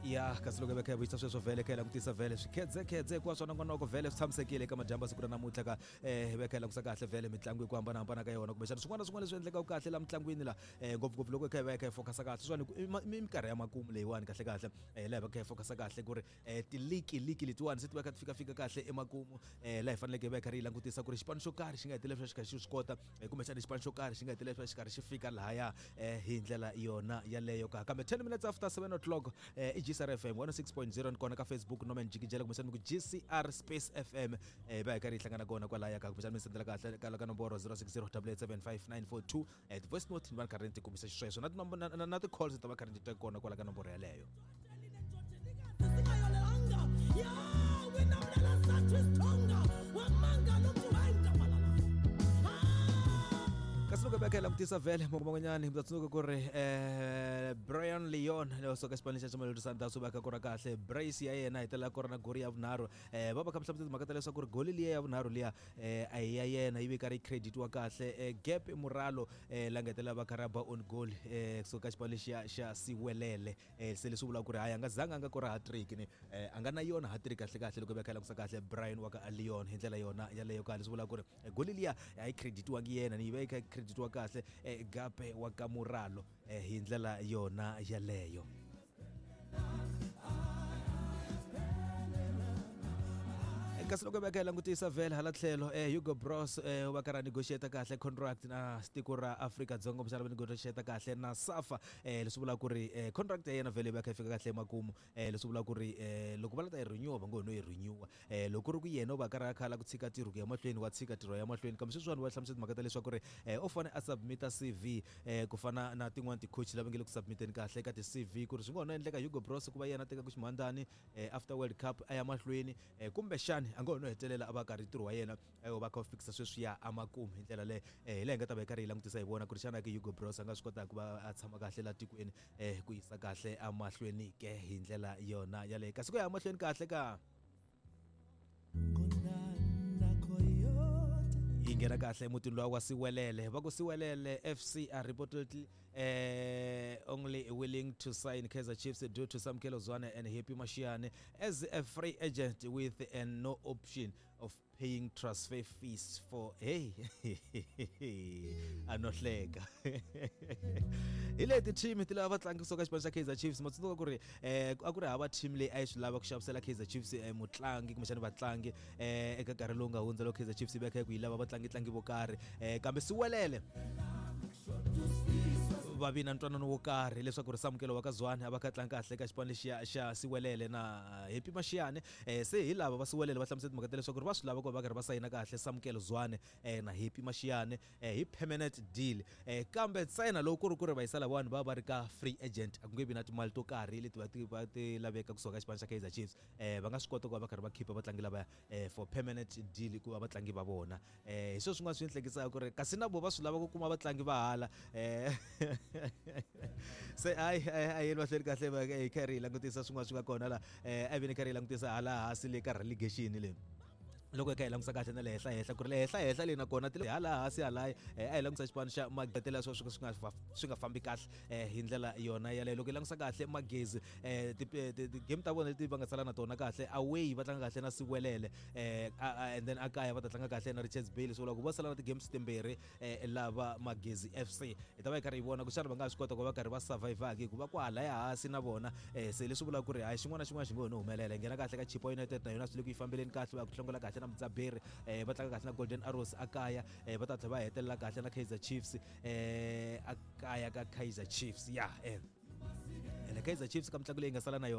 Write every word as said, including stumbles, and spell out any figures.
Ya kasi loko hi kha hi vuyisa sweswo vhele kha hi langutisa vhele swikhedzekhedze hinkwaswo nongonoko vhele swi tshamisekile eka madyambu siku ra namuntlha ka um hi va kha hi langusa kahle vhele mitlangu hi ku hambanahambana ka yona, kumbexana swin'wana na swin'wana leswi endlekaka kahle la mitlangwini la um ngopfungopfu loko hi kha hi va hi kha hi focusa kahle sweswiwani i minkarhi ya makumu leyiwani kahle kahle um laha hi va kha hi focusa kahle ku ri um tiliki liki letiwani se ti va kha ti fika fika kahle emakumu, um laha hi faneleke hi va hi karhi hi langutisa ku ri xipano xo karhi xi nga hetelela xi karhi xi swi kota, kumbexana xipano xo karhi xi nga hetelela xi karhi xi fika lahaya um hi ndlela yona yaleyo ka. Kambe ten minutes after seven o'clock um i G C R F M one oh six point zero ni kona ka Facebook Norman Jikijela, kumbexana mi ku G C R Space F M eh va hi karhi hi hlangana kona kwalaya ka, kumbexana mi sendela kahle ka ka nomboro zero six zero double eight seven five nine four two eh voice note ni va ni karhi ni ti kombisa xisweswo na na na ti-calls ta va karhi ni ti kona kwala ka nomboro yaleyo. Kasi loko hi langutisa vhele man'wanyana hi ta tsundzuka ku ri um Brian Leon loyi suka xipano xa Mamelodi Sundowns u va kha kora kahle brace ya yena hetelela ku ri na goli ya vunharhu. um va va kha hlamusela timhaka ta leswaku ri goli liya ya vunharhu liya um a hi ya yena, yi ve karhi yi creditiwa kahle Gap Muralo um la nga hetelela va kha ra ba on goal um kusuka xipano lexiya xa Siwelele. um se leswi vulaka ku ri hayi a nga zanga a nga kora hat-trick ni um a nga na yona hat-trick kahle kahle loko hi va kha hi langusa kahle Brian wa ka Leon hi ndlela yona yaleyo kahle, leswi vulaka ku ri goli liya a yi creditiwangi yena ni yi va yi kha yi creditiwa kahle Gape wa ka Muralo hi ndlela yona yaleyo. Kasi loko va kha hi langutisa vhele hala tlhelo Hugo Broos va karhi a negotiate kahle contract na tiko ra Afrika-Dzonga, kumbexana va negotiate kahle na SAFA, leswi vulaka ku ri contract ya yena vhele va kha yi fika kahle emakumu, leswi vulaka ku ri loko va la ta yi renewa va ngo ho no yi renewa, loko ku ri ku yena u va karhi a kha a ku tshika ntirho ku ya mahlweni wa tshika ntirho ya mahlweni. Kambe sweswiwani va hlamusela timhaka ta leswaku ri u fanele a submita C V ku fana na tin'wani ti-coach lava nge le ku submiteni kahle ka ti-C V, ku ri swi nga ho no endleka Hugo Broos ku va yena a tekaka ximhandzani after World Cup a ya mahlweni, kumbexani a nga ho no hetelela a va karhi ntirho wa yena u va kha u fikisa sweswiya emakumu hi ndlela leyo. Hi laha hi nga ta va hi karhi hi langutisa hi vona ku ri xana ke Hugo Broos a nga swi kotaka ku va a tshama kahle laha tikweni ku yisa kahle emahlweni ke hi ndlela yona yaleyo. Kasi ku ya emahlweni kahle ka yi nghena kahle emutini luwa wa Siwelele, va ku Siwelele F C are reportedly eh, only willing to sign Kaizer Chiefs due to Samkelo Zwane and Happy Mashiane as a free agent with and no option of paying transfer fees for hey anohleka hi leti team ti lava vatlangi kusuka xipano xa Kaizer Chiefs. Ma tsundzuka ku ri eh a ku ri hava team leyi a yi swi lava ku xavisela Kaizer Chiefs mutlangi kumbexana vatlangi eh eka nkarhi lowu nga hundza loko Kaizer Chiefs yi va kha ku yi lava vatlangi tlangi vo karhi, eh kambe Siwelele va vi na ntwanano wo karhi leswaku ri Samkelo wa ka Zwane a va kha tlanga kahle ka xipano lexiya xa Siwelele na Happy Mashiane. eh se hi lava va Siwelele va hlamusela timhaka ta leswaku ri va swi lava ku va karhi va sayina kahle Samkelo Zwane na Happy Mashiane hi permanent deal, kambe ntsena loko ku ri ku ri va yisa lavawani va va ri ka free agent a ku nge vi na timali to karhi leti va ti va ti laveka kusuka ka xipano xa Kaizer Chiefs, va nga swi kota ku va va karhi va khipa vatlangi lavaya for permanent deal ku va vatlangi va vona. Hi swona swin'wana swi ni hlekisaka ku ri kasi na vo va swi lava ku kuma vatlangi va hala se hayi a yeni mahlweni kahle hi karhi hi langutisa swin'wana swi nga kona la a vi ni karhi hi langutisa hala hansi le ka relegation le loko hi kha hi langusa kahle na le henhla henhla ku ri le henhla henhla leyi nakona ti hala hansi halaya a hi langusa xipano xa Magetela swo swi nga swi nga fambi kahle hi ndlela yona yaleyo. Loko hi langusa kahle Magezi ti-game ta vona leti va nga sala na tona kahle away va tlanga kahle na Siwelele, and then akaya va ta tlanga kahle na Richards Bay, leswi vulaka ku va sala na ti-games timbirhi lava Magezi F C hi ta va hi karhi hi vona ku xana va nga swi kota ku va karhi va survive-aka hikuva kwalaya hansi na vona se leswi vulaka ku ri hayi xin'wana na xin'wana xi ngo ho no humelela. Hi nghena kahle ka Chippa United na yona swi le ku yi fambeleni kahle va ku hlongola kahle na Mudzaberi, eh va tlanga kahle na Golden Arrows akaya, eh va ta tlhela va hetelela kahle na Kaizer Chiefs eh akaya ka Kaizer Chiefs ya eh ene Kaizer Chiefs ka mitlangu leyi nga sala na yona.